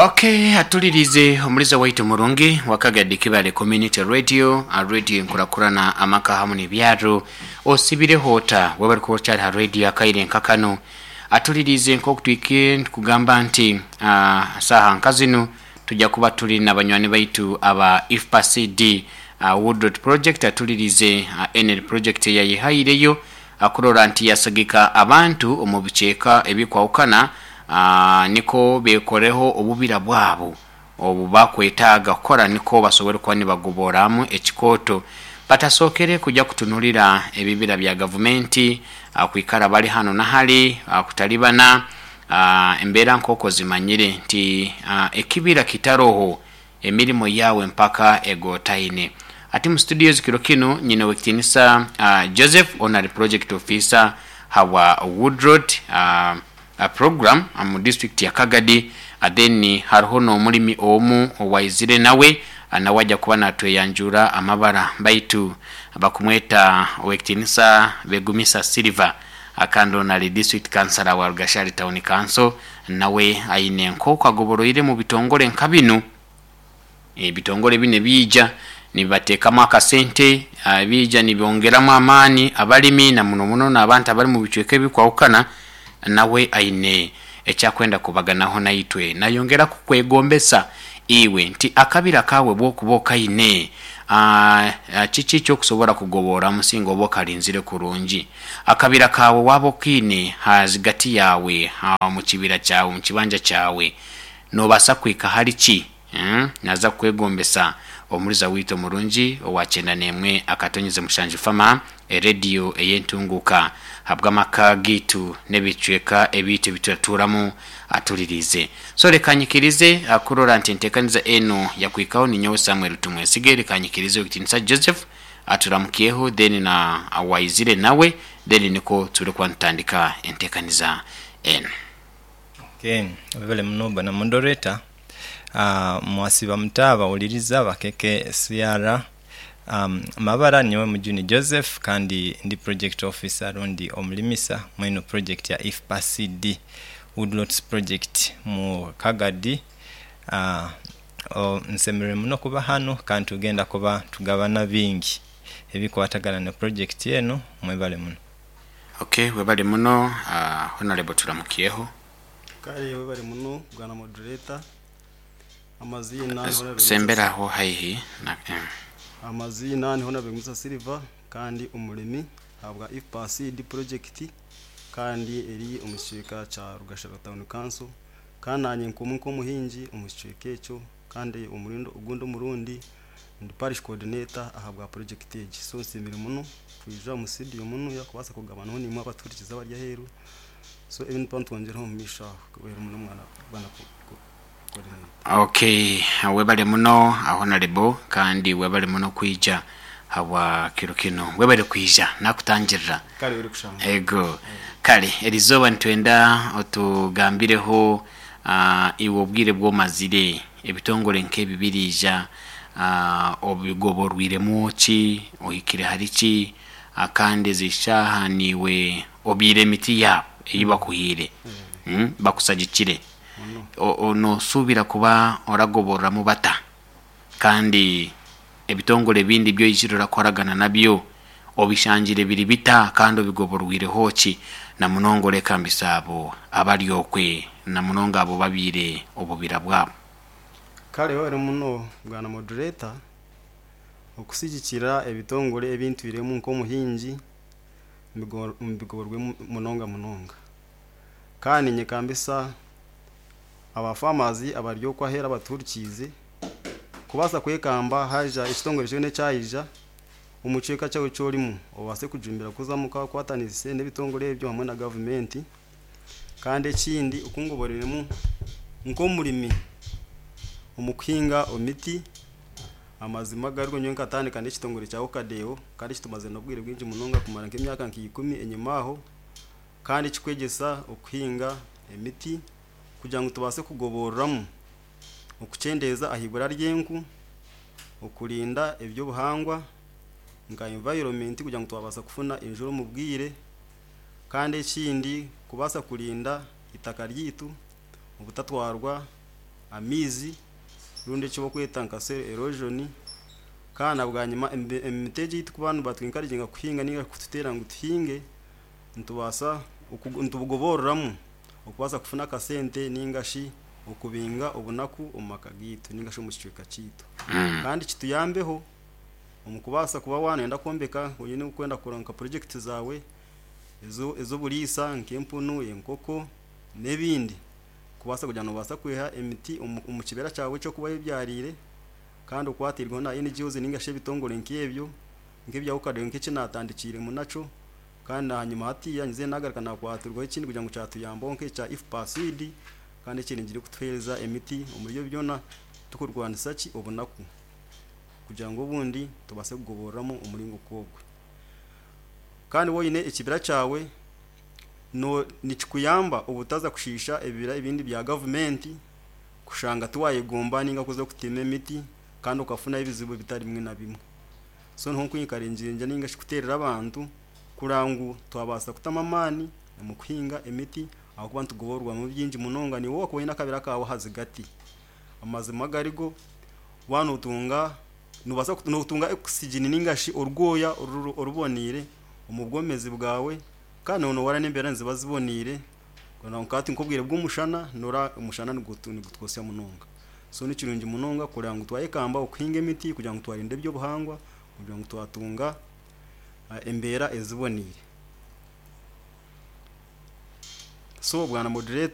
Okay, atulirize omuliza waitu murungi wakagadi Kibale Community Radio, a radio enkurakurana amaka hamu n'ebyaro osibireho ota webari kuba okyari ha radio akaire nka kanu atulirize nk'oku twikire nitukugamba nti uh, saaha nka zinu tujja kuba turi na banywani baitu aba IFPA-CD uh, Woodrod Project atulirize uh, NL project eyayehaireyo akurora nti yasagika abantu omu bicweka ebikwahukana nikwo bekoreho obubira bwabo obu bakwetaaga kukora nikwo basobole kuba nibagoboramu ekikooto batasookere kujya kutunulira ebibira bya gavumenti kwikara bali hanu na hali kutalibana embeera nk'oku ozimanyire nti ekibira kitaroho emirimo yaawe mpaka egotaine. Ati mu studios kiro kinu nyine Owekitinisa Joseph onu ari project officer habwa Woodroad program mu district ya Kagadi then hariho n'omurimi omu owaizire nawe nawe aja kuba natweyanjura amabara baitu bakumweta Owekitinisa Begumisa Silver kandi onu ari district councillor wa Rugashari town council nawe aine nk'oku agoboroire mu bitongore nka binu. Ebitongore binu ebiija nibibateekamu akasente, biija nibyongeramu amaani abalimi na muno muno n'abantu abari mu bicweka ebikwahukana. Nawe aine eki akwenda kubaganaho naitwe. Nayongera kukwegombesa iwe nti akabira kaawe bw'okuba okaine, kiki eki okusobora kugoboramu singa oba okarinzire kurungi? Akabira kaawe waaba okaine ha zigati yaawe, omu kibira kyawe, omu kibanja kyawe, noobaasa kuhika hari ki? Naaza kukwegombesa omuriza waitu omurungi owa kyenda n'emwe akatonyeze mushanju Fama, erediyo ey'entunguuka ahabw'amaka gaitu n'ebicweka ebiitu ebi turatuuramu atuririize. So reka nyikirize kurora nti enteekaniza enu yakuhikaho ninyowe Samuel Tumwesige, reka nyikirize Owekitiinisa Joseph aturamukyeho then na Waizire nawe then nikwo turikuba nitutandika enteekaniza enu. Okay, webale muno bwana moderator. Mwasiiba muta abawuliriza ba KKCR? Amabara nyowe Mujuni Joseph kandi ndi project officer rundi omulimisa mweno project ya IFPA CD Woodlots project mu Kagadi. Nsemereire muno kuba hanu kandi tugenda kuba tugabana bingi ebikwatagana ne project eno. Mwebale muno. Ok webale muno Honourable turamukyeho. Kare webale muno bwana moderator. Amaziina ni Honourable Sembera aho haihi na. Amaziina ni Honourable Musa Silver kandi omuremi ahabwa IFPA Seed project kandi eri omu kicweka kya Rugashara Town Council kandi nanye nk'omwe nk'omuhingi omu kicweka ekyo kandi ogundi omurundi Ndi parish coordinator ahabwa project egi so nsiimire muno kwija omu studio munu kubaasa kugabanaho naimwe abatuhurikize abari aheeru so ebi nituba nitwongyeraho omu maisho aho webare muno mwana bwana coordinator. Ok webale muno Honarebo kandi webale muno kwija habwa kiro kinu webale kwija nakutangirira. Kare orikushanga. Ego kare erizooba nitwenda otugambireho iwe obwire obu omazire ebitongore nk'ebi biriija obigoborwiremu ki, ohikire hari ki, kandi ezi shaaha niiwe obyire emiti yaabo ei bakuhaire, bakushagikire, noosuubira kuba oragobororamu bata? Kandi ebitongore ebindi ebi oizire orakoragana nabyo obishangire biri bita kandi obigoborwireho ki? Na munonga orekambisa abo abari okwe na munonga abo babiire obubira bwabo. Kare webare muno bwana moderator okusigikira ebitongore ebi ntwiremu nk'omuhingi mbigoborwe munonga munonga. Kandi ninyekambisa aba farmers abari okwo aheeru abatuhurikiize kubaasa kwekamba haija ekitongore kyona ekyaija omu kicweka kyawe eki orimu obaase kujumbira kuzamu okakwatanise n'ebitongore ebyo hamwe na gavumenti. Kandi ekindi oku ngoboreremu nk'omurimi omu kuhinga emiti, amazima agariho nyowe nkatandika n'ekitongore kya Okadeo kandi eki tumazire n'obwire bwingi munonga kumara nk'emyaka nka ikumi enyima aho kandi kikwegyesa okuhinga emiti kugira ngu tubaase kugoboreramu okukyendeeza aha ibura ry'enku, okurinda eby'obuhangwa nka environment kugira ngu twabaasa kufuna enjura omu bwire kandi ekindi. kubaasa kurinda itaka ryaitu obutatwarwa amaizi rundi eki barikweta nka soil erosion. Kandi na bwanyima emiti egi ei turikuba nibatwikariginga kuhinga ninga kututeera ngu tuhinge, nitubaasa nitubugoboreramu okubaasa kufuna akasente ninga shi okubinga obunaku omu maka gaitu ninga shi omu kicweka kyaitu. Kandi kituyambeho omu kubaasa kuba waaba nooyenda kwombeka oine kwenda kukora nka purojekiti zaawe ez'oburiisa nk'empunu, enkoko n'ebindi kubaasa kugira ngu noobaasa kwiha emiti omu kibira kyawe eki orikuba oyebyariire kandi okwatiirweho na NGOs ninga shi ebitongore nk'ebyo nk'ebya UCAD nk'eki naatandikiiremu nakyo kandi ahanyima hatiiya nyizire naagaruka naakwatirwaho ekindi kugira ngu kyatuyambaho nk'ekya IFPA seed kandi ekiringire kutuheereza emiti omuri ebyo byona tukurwanisa ki obunaku kugira ngu obundi tubaase kugoboreramu omuringo nk'ogwo. Kandi waaba oine ekibira kyawe nikikuyamba obutaza kushiisha ebibira ebindi bya gavumenti kushanga tiwayegomba ninga kuza kutema emiti kandi okafunayo ebizibu bitari bimwe na bimwe. So niho nkwikaringira ninga shi kuteerera abantu kureba ngu twabaasa kutamu amaani omu kuhinga emiti ahabw'okuba nitugoborwamu bingi munonga. Naiwe wakuba oine akabira kaawe aha zigati, amazima agarigo waaba nootunga noobaasa nootunga oxygen ninga shi orwoya oruboneire omu bwomeezi bwawe kandi noora n'embeera niziba ziboneire nka hati nk'obwire bw'omushana noora omushana nigutwosya munonga. So ni kirungi munonga kureba ngu twayekamba okuhinga emiti kugira ngu twarinda eby'obuhangwa kugira ngu twatunga embeera eziboneire. So bwana moderator.